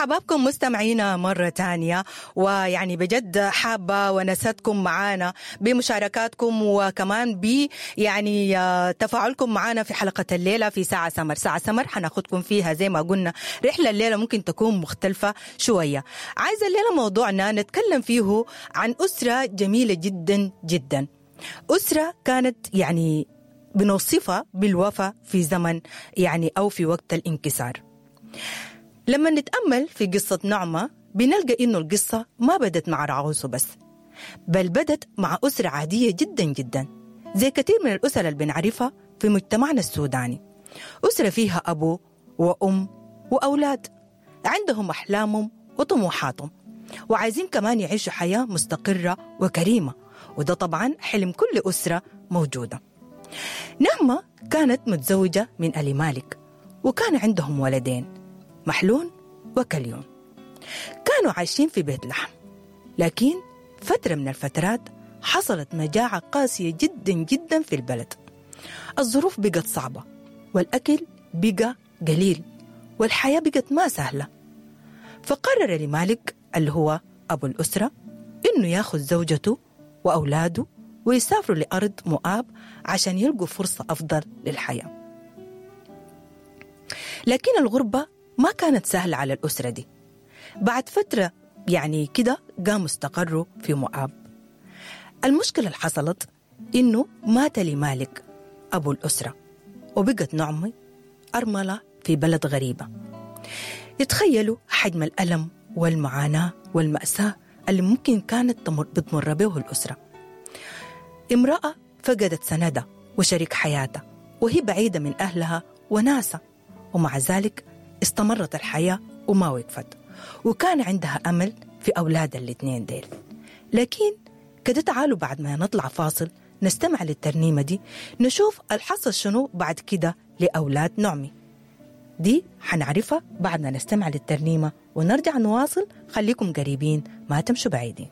حبابكم مستمعينا مرة تانية، ويعني بجد حابة ونستكم معانا بمشاركاتكم وكمان ب يعني تفاعلكم معانا في حلقة الليلة في ساعة سمر. ساعة سمر حناخدكم فيها زي ما قلنا رحلة الليلة ممكن تكون مختلفة شوية. عايزة الليلة موضوعنا نتكلم فيه عن أسرة جميلة جدا جدا، أسرة كانت يعني بنوصفها بالوفاء في زمن يعني أو في وقت الانكسار. لما نتأمل في قصة نعمة بنلقى إنه القصة ما بدت مع رعوز بس، بل بدت مع أسرة عادية جدا جدا زي كثير من الأسر اللي بنعرفها في مجتمعنا السوداني. أسرة فيها أبو وأم وأولاد عندهم أحلامهم وطموحاتهم، وعايزين كمان يعيشوا حياة مستقرة وكريمة، وده طبعا حلم كل أسرة موجودة. نعمة كانت متزوجة من ألي مالك، وكان عندهم ولدين، محلون وكليون. كانوا عايشين في بيت لحم، لكن فترة من الفترات حصلت مجاعة قاسية جدا جدا في البلد. الظروف بقت صعبة، والأكل بقى قليل، والحياة بقت ما سهلة. فقرر لمالك اللي هو أبو الأسرة إنه ياخذ زوجته وأولاده ويسافروا لأرض مؤاب عشان يلقوا فرصة أفضل للحياة. لكن الغربة ما كانت سهلة على الأسرة دي. بعد فترة يعني كده قاموا استقروا في مؤاب. المشكلة اللي حصلت إنه مات لمالك أبو الأسرة، وبقت نعمة أرملة في بلد غريبة. يتخيلوا حجم الألم والمعاناة والمأساة اللي ممكن كانت بتمر به الأسرة. امرأة فقدت سندها وشريك حياتها، وهي بعيدة من أهلها وناسها، ومع ذلك استمرت الحياة وما وقفت، وكان عندها أمل في أولاد الاثنين ديل. لكن كده تعالوا بعد ما نطلع فاصل نستمع للترنيمة دي، نشوف الحصل شنو بعد كده لأولاد نعمي. دي حنعرفها بعد ما نستمع للترنيمة ونرجع نواصل. خليكم قريبين، ما تمشوا بعيدين.